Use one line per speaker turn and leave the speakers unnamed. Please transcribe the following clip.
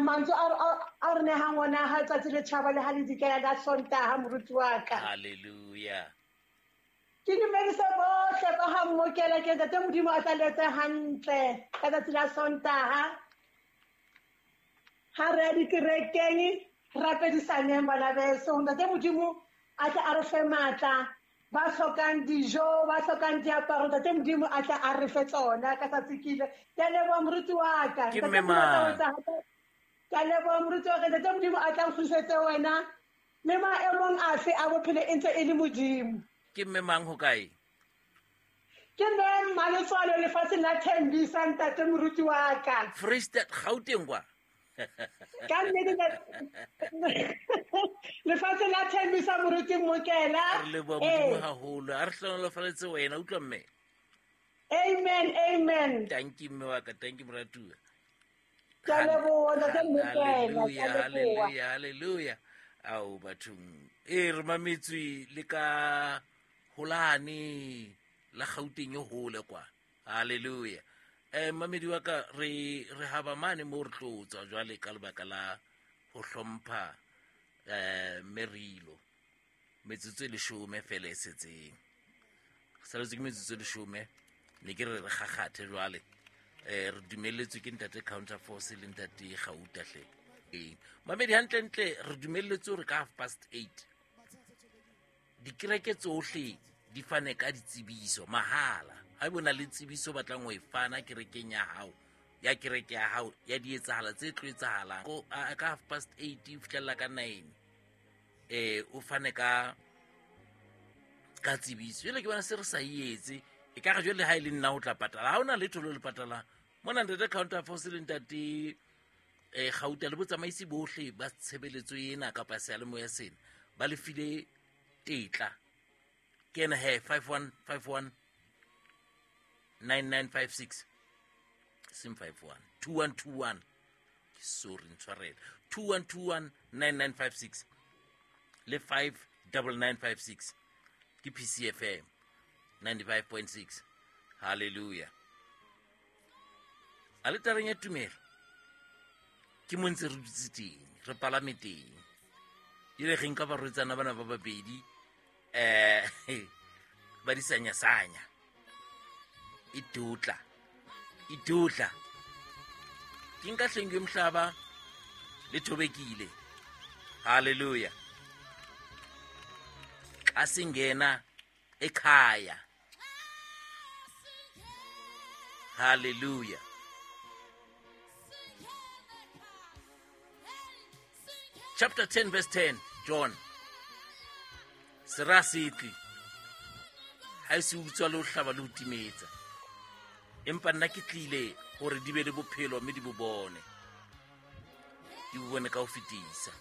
Mantswe a re nehang ona ha tsatsi le tjhaba le ha le dikela la Sontaha, moruti wa ka.
Halleluja.
Ke dumedise bohle ba ha Mmokela, ke Ntate Modimo a tla letse hantle ka tsatsi la Sontaha. Ha re ya dikerekeng, rapedisaneng bana beso. Ntate Modimo a tle a re fe matla, ba hlokang dijo, ba hlokang diaparo, Ntate Modimo a tle a re fe tsona ka tsatsi kile. Ke a leboha, moruti wa ka.
Ke
Ntate
mme
Modimo a tla
mang?
o etsa hantle. Ke a leboha, moruti wa ka. Ntate Modimo a tla nkgutlisetse wena le maemong afe a bophelo e ntse e le Modimo.
Ke mme mang, ho kae?
Ke mme Mmaletswalo lefatsheng la Thembisa, ntate moruti wa ka.
Freestate, Gauteng kwa.
Ka nnete, lefatsheng la Thembisa, moruti Mokela.
Re leboha Modimo haholo, a re hlonolofaletse wena, utlwa mme.
Amen, amen.
Tanki mme wa ka, tanki moratuwa.
Ke a leboha, ntate Mokela, ke a
Halleluja.
leboha.
Halleluja, halleluja. Ao bathong, e re mametswe le ka holane la Gauteng e hole kwa. Halleluja. Mamedi wa ka, re haba mane mo re tlo tswa jwale ka lebaka la ho hlompha merilo. Metsotso e 10 fela e setseng, saletswe ke metsotso e 10. Ne ke re re gakgathe jwale. Re dumelletswe ke ntate Counter Force le ntate Gauta hle. Ee mamedi, hantlentle re dumelletswe hore ka 8:30 dikereke tsohle di fane ka ditsebiso mahala. Ha ebe o na le tsebiso o batlang ho e fana kerekeng ya hao, ya kereke ya hao, ya dietsahala tse tlo etsahalang ka 8:30 ho fihlella ka 9, o fane ka tsebiso. Jwale ke bona se re sa e etse, e ka re jwale ha e le nna ho tla patala, ha hona letho lo le patalang mona. Ntate Counter Force le ntate Gauta le botsamaisi bohle ba tshebeletso ena kapa seyalemoya sena ba le file tetla. Ke ena he, 5151 9956, seng 51, 2121, ke sorry, ntshwarele, 2121 9956 le 59956, ke PCFM 95.6. Halleluja. Aletareng ya tumelo ke mo ntse re dutse teng, re palame teng. Jale ge nka barwetsana bana ba babedi ba di sanyasanya, idutla idutla, ke nka hleng yomhlaba le thobekile. Haleluya. Xa singena ekhaya. Haleluya. Chapter 10 verse 10, John: sera se tle ha e se utswa le ho hlaba le ho timetsa, empa nna ke tlile hore di be le bophelo mme di bo bone, di bo bone ka ho fetisa.